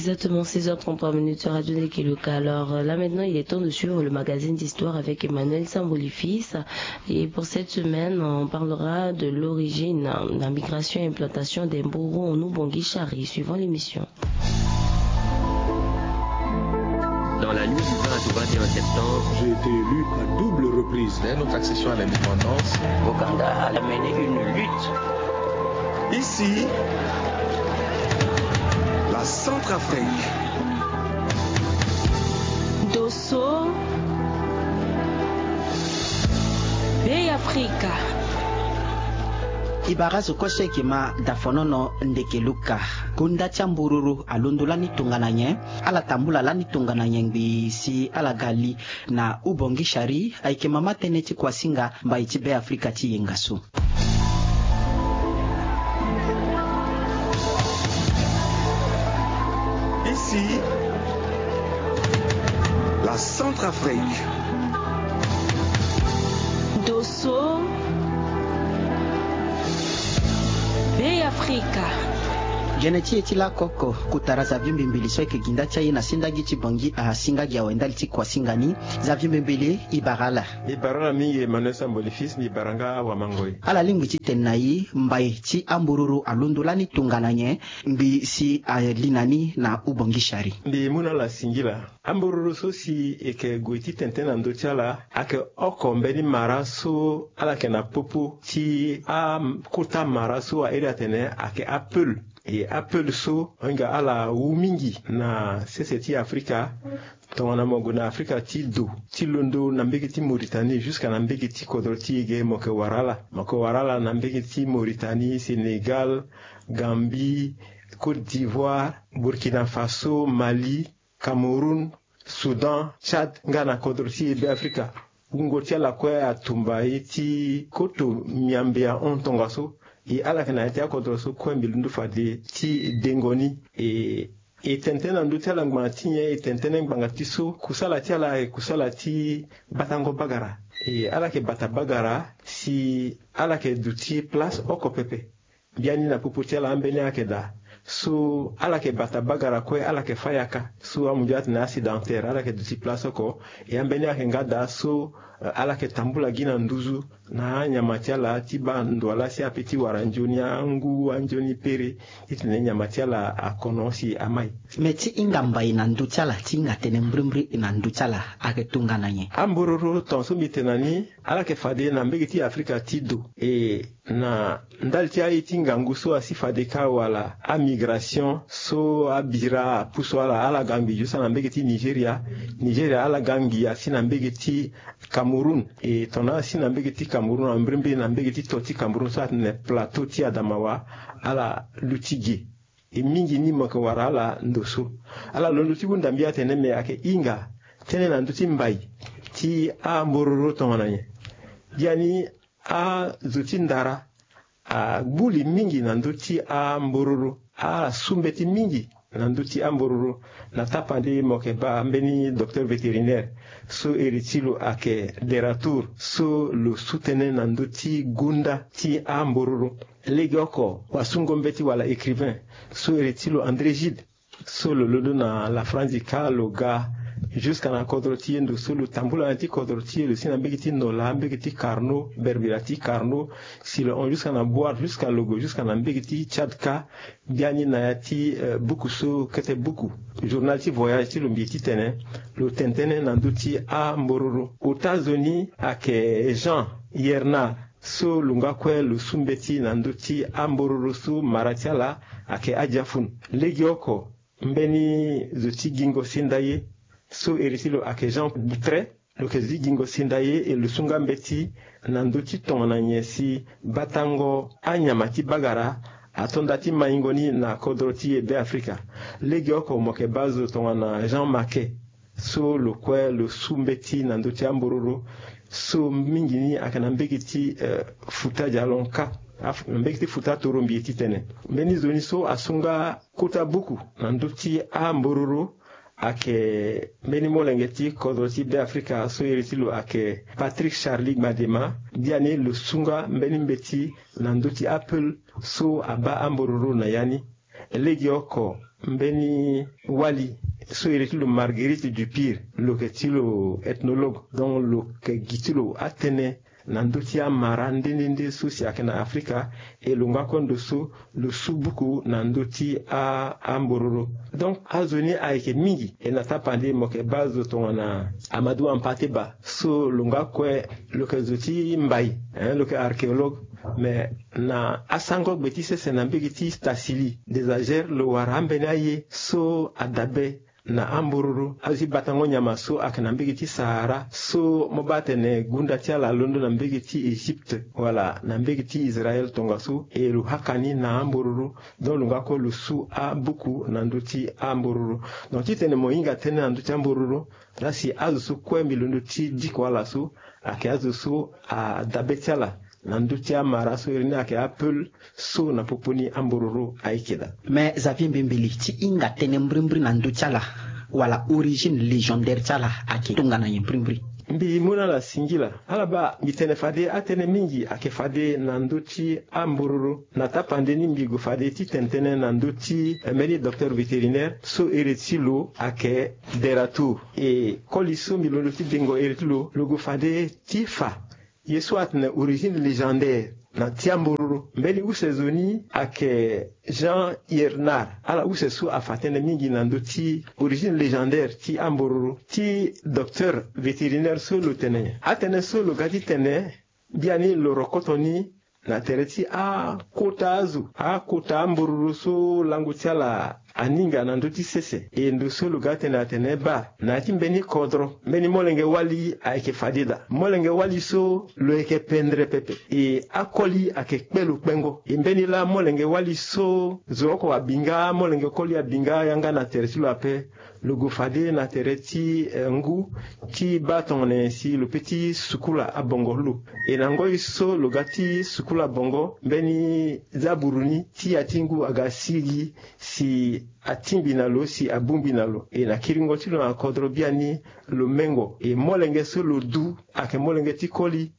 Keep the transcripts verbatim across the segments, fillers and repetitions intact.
Exactement, seize heures trente-trois minutes sur Radio Nekeluka. Alors euh, là maintenant, il est temps de suivre le magazine d'histoire avec Emmanuel Sambolifis. Et pour cette semaine, on parlera de l'origine, euh, la migration et implantation des Mboro en Ubangui Chari, suivant l'émission. Dans la nuit du vingt au vingt et un septembre, j'ai été élu à double reprise. Dès notre accession à l'indépendance, Boganda a mené une lutte. Ici, la Centrafrique. Dosso, Bey Afrika. I bara zo kue so e yeke ma dafonono Ndekeluka. Kunda ti ambururu alondo lani tongana nyen? Ala tambula lani tongana nyen ngbii si ala ga li na Ubangui Chari? Ayeke mama tënë ti kuasinga mbai ti Bey Afrika ti yenga so. Ici, la Centrafrique. Dosso, Bey Afrika. Gene ti e ti lakoko, kotara Xavier Mbembele so ayeke ginda ti aye na sendagi ti Bangui asinga gi awe ndali ti kuasinga ni. Xavier Mbembele, i bara ala. Mbi bara ala mingi Emmanuel Sambolifis, mbi bara nga awamangoi. Ala lingbi ti tene na i, mbai ti ambururu alondo lani tongana nyen ngbii si ali na ni na Ubangui Chari? Mbi mu na ala singila. Ambururu so si e yeke gue ti tene tënë na ndö ti ala ayeke oko mbeni mara so ala yeke na popo ti akota mara so a iri atene ayeke apeul. E apeul so, hinga ala wu mingi na sese ti Afrika. Tongana mo gue na Afrika ti do, ti londo na mbege ti Mauritanie jusqu'à na mbege ti kodro ti e ge, mo yeke wara ala. Mo yeke wara ala na mbege ti Mauritanie, Sénégal, Gambie, Côte d'Ivoire, Burkina Faso, Mali, Cameroun, Soudan, Tchad, nga na kodro ti e Bey Afrika. Wungo ti ala kue atumba ye ti koto miambe ahon tongaso. E ala yeke na ya ti akodro so kue mbi londo fade ti dengo ni. E, e tene tënë na ndö ti ala ngbanga ti nyen? E tene tënë ngbanga ti so kusala ti ala ayeke kusala ti batango bagara. E ala yeke bata bagara si ala yeke duti place oko pepe. Biani na popo ti ala ambeni ayeke daa. So ala yeke bata bagara kue, ala yeke fâ yaka. So amunzu atene asédentaire, ala yeke duti place oko. E ambeni ayeke nga daa so, eh, ala yeke tambula gi na nduzu na anyama ti ala ti baa ndo wa laa si ape ti wara nzoni angu, anzoni pere, titene nyama ti ala akono si amai. Me ti hinga mbai na ndö ti ala, ti hinga tënë mbrimbri na ndö ti ala, ayeke tongana nyen? Ambororo, tongaso mbi tene na ni, ala yeke fade na mbege ti Afrika ti do. E na ndali ti aye ti ngangu so asi fade kâ wala amigration so abira apusu ala, ala ga ngbii jusque na mbege ti Nigeria. Nigeria ala ga ngbii asi na mbege ti Cameroun. E tongana asi na mbege ti Cameroun, ambrimbri na mbege ti to ti Cameroun so atene plateau ti Adamawa, ala luti ge. E mingi ni mo yeke wara ala ndo so. Ala londo ti hunda mbi atene me ayeke hinga tënë na ndö ti mbai ti ambororo tongana nyen? Biani azo ti ndara agbu li mingi na ndö ti ambororo. Ala su mbeti mingi na ndö ti ambororo. Na tapande mo yeke baa mbeni docteur vétérinaire so iri ti lo ayeke Deratour, so lo su tënë na ndö ti gonda ti ambororo. Legeoko wasungo mbeti wala écrivain so iri ti lo André Gide, so lo londo na la France kâ, lo ga jusqu'à na kodro ti e ndo so, lo tambula na ya ti kodro ti e, lo si na mbege ti Nola, mbege ti Carnot, berbera ti Carnot, si lo hon jusqu'à na Bouar, jusqu'à lo gue jusqu'à na mbege ti Tchad kâ. Biani na ya ti, eh, buku so kete buku, journal ti voyage ti lo mbi titene, lo tene tënë na ndö ti ambororo. Ota zo ni ayeke Jean Yernard, so lo nga kue lo su mbeti na ndö ti ambororo so mara ti ala ayeke Adiafoun. Legeoko mbeni zo ti gingo senda ye so iri ti lo ayeke Jean Boutre, lo yeke zi gingo senda ye, e lo su nga mbeti na ndö ti tongana nyen si batango anyama ti bagara ato nda ti maingo ni na kodro ti e Be Afrika. Legeoko mo yeke baa zo tongana Jean Maquet, so lo kue lo su mbeti na ndö ti ambororo, so mingi ni ayeke na mbege ti, eh, Fouta Djallon kâ, af-, na mbege ti Fouta Toro mbi ye titene. Mbeni zo ni so asu nga kota buku na ndö ti ambororo ayeke mbeni molenge ti kodro ti Be Afrika so iri ti lo ayeke Patrick Charlie Gbadema. Biani lo su nga mbeni mbeti na ndö ti apeul so abaa ambororo na ya ni. Legeoko mbeni wali so iri ti lo Marguerite Dupire, lo yeke ti lo ethnologue, donc lo yeke gi ti lo atënë na ndö ti amara nde nde nde so si ayeke na Afrika. E lo nga kue ndo so lo su buku na ndö ti a ambororo. Donc azo ni ayeke mingi. E na tapande mo yeke baa zo tongana Amadou Hampâté Bâ so lo nga kue lo yeke zo ti mbai, hein, lo yeke archéologue. Mais na asango gbe ti sese na mbege ti Tasili, Désagères, lo wara ambeni aye so adabe na ambororo, azo ti batango nyama so ayeke na mbege ti Sahara, so mo baa atene gunda ti ala alondo na mbege ti Egypte wala na mbege ti Israël tongaso, e lo haka ni na ambororo. Donc lo nga kue lo su abuku na ndö ti ambororo. Donc titene mo hinga tënë na ndö ti ambororo, la si azo so kue mbi londo ti diko ala so ayeke azo so adabe ti ala na ndö ti amara so iri ni ayeke apeul so na popo ni ambororo ayeke daa. Mais Xavier Mbembele, ti hinga tënë mbrimbri na ndö ti ala wala origine légendaire ti ala ayeke tongana nyen mbrimbri? Mbi mu na ala singila. Ala baa, mbi tene fade atënë mingi ayeke fade na ndö ti ambororo. Na tapande ni mbi gue fade ti tene tënë na ndö ti, eh, mbeni docteur vétérinaire so iri ti lo ayeke Deratour. E koli so mbi londo ti dengo iri ti lo, lo gue fade ti fa ye so atene origine légendaire na ti ambororo. Mbeni use zo ni ayeke Jean Yernard. Ala use so afa tënë mingi na ndö ti origine légendaire ti ambororo. Ti docteur vétérinaire so lo tene, atënë so lo ga ti tene, biani lo rokoto ni na tere ti akota azo, akota ambororo so lango ti ala aninga na ndö ti sese. E ndo so lo ga tene atene baa, na ya ti mbeni kodro, mbeni molenge wali ayeke fade daa. Molenge wali so lo yeke pendere pepe. E akoli ayeke kpe lo kpengo. E mbeni laa molenge wali so zo oko abi nga, molenge koli abi nga yanga na tere ti lo ape. Lo gue fade na tere ti, eh, ngu ti baa tongana nyen si lo peut ti sukula abongo ti lo. E na ngoi so lo ga ti sukula bongo, mbeni zaburu ni ti ya ti ngu aga sigi si atingbi na lo si abongbi na lo. E na kiringo ti lo na kodro biani lo mengo. E molenge so lo du ayeke molenge ti koli.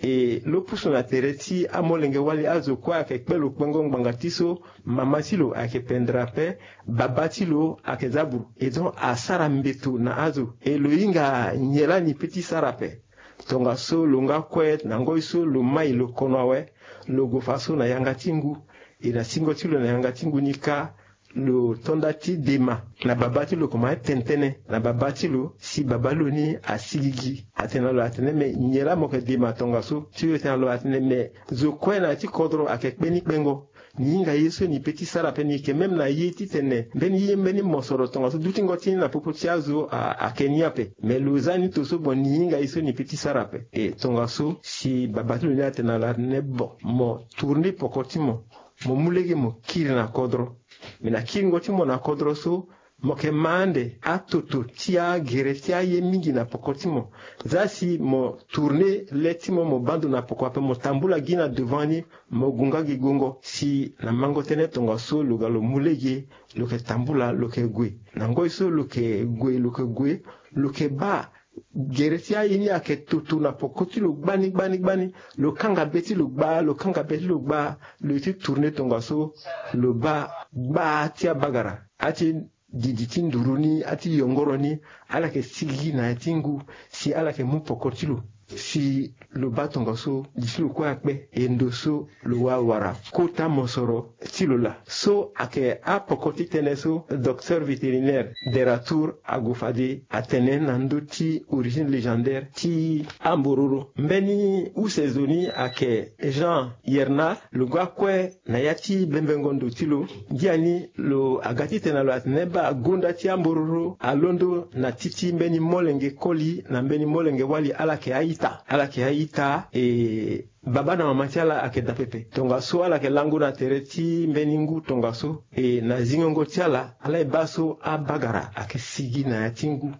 E lo pusu na tere ti amolenge wali, azo kue ayeke kpe lo kpengo ngbanga ti so mama ti lo ayeke pendere ape, baba ti lo ayeke zaburu. E donc asara mbeto na azo. E lo hinga nyen lani peut ti sara ape? Tongaso lo nga kue na ngoi so lo mai lo kono awe, lo gue fa so na yanga ti ngu. E na singo ti lo na yanga ti ngu ni kâ, lo to nda ti dema na baba ti lo, komanse tene tënë na baba ti lo si baba lo ni asigigi. Atene na lo atene me nyen laa mo yeke dema tongaso? Ti lo tene na lo atene me zo kue na ya ti kodro ayeke kpe ni kpengo. Ni hinga ye so ni peut ti sara ape, ni yeke même na ye titene mbeni ye mbeni mosoro tongaso dutingo ti ni na popo ti azo a- ayeke ni ape. Me lo za ni to so bon, ni hinga ye so ni peut ti sara ape. E tongaso si baba ti lo ni atene na lo atene bon, mo tourner poko ti mo, mo mu lege mo kiri na kodro. Me na kiringo ti mo na kodro so, mo yeke ma ande atoto ti agere ti aye mingi na poko ti mo. Za si mo tourner le ti mo, mo baa ndo na poko ape, mo tambula gi na devant ni, mo gue nga gi guengo. Si na mango tënë tongaso lo ga lo mu lege, lo yeke tambula, lo yeke gue. Na ngoi so lo yeke gue, lo yeke gue, lo yeke baa gere ti aye ni ayeke toto na poko ti lo gbani gbani gbani. Lo kanga be ti lo gbaa, lo kanga be ti lo gbaa, lo ye ti tourner tongaso, lo baa gbaa ti abagara, ati didi ti nduru ni, ati yongoro ni, ala yeke sigigi na ya ti ngu, si ala yeke mu poko ti lo. Si lo baa tongaso, di ti lo kue akpe, e ndo so lo wa wara kota mosoro ti lo laa. So ayeke apoko ti tënë so docteur vétérinaire Deratour ague fade atene na ndö ti origine légendaire ti ambororo. Mbeni use zo ni ayeke Jean Yernard, lo ga kue na ya ti bembengo ndo ti lo. Ngia ni lo aga titene lo atene baa gonda ti ambororo alondo na ti ti mbeni molenge koli na mbeni molenge wali, ala yeke a-ita. Ala yeke a-ita, e baba na mama ti ala ayeke daa pepe. Tongaso ala yeke lango na tere ti mbeni ngu tongaso. E na zingongo ti ala, ala ye baa so abagara ayeke sigi na ya ti ngu.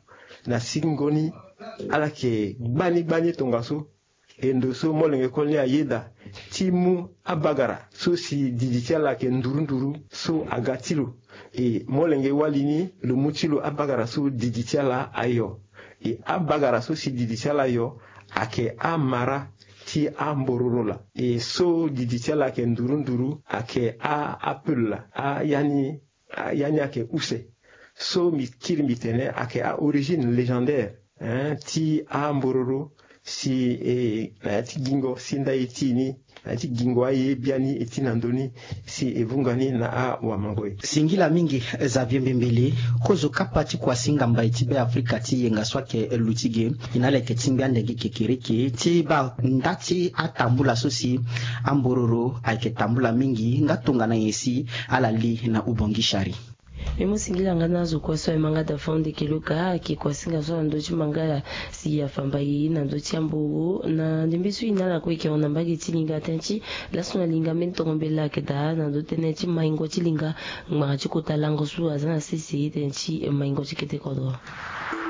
Na sigingo ni, ala yeke gbani gbani tongaso. E ndo so molenge koli ni ayeda ti mu abagara so si didi ti ala ayeke nduru nduru so aga ti lo. E molenge wali ni, lo mu ti lo abagara so didi ti ala ayo. E abagara so si didi ti ala ayo ayeke amara ti ambororo laa. E so didi ti ala ayeke nduru nduru, ayeke a apel laa, a ya ni, a ya ni ayeke use. So mbi kiri mbi tene ayeke a origine légendaire, hein, ti ambororo, si e na ya ti gingo si nda e ti e ni, na ya ti gingo aye biani e ti na ndö ni, si e vunga ni na awamango e. Singila mingi Xavier Mbembele, kozo kapa ti kuasinga mbai ti Be Afrika ti yenga so ayeke luti ge. E na ala yeke tingbi ande gi kekereke ti baa nda ti atambula so si ambororo ayeke tambula mingi nga tongana nyen si ala li na ubongi sari. Mbi mu singila nga na azo kue so aye ma nga daa fo ande keloka ayeke kuasinga so na ndö ti mangala si afa mbai na ndö ti amboro na ndembe so e na ala kue e yeke hon na mbage ti linga tënë ti laso na linga mbeni tongo mbela ayeke daa na ndö tënë ti maingo ti linga ngbanga ti kota lango so aza na sese tënë ti maingo ti kete kodro.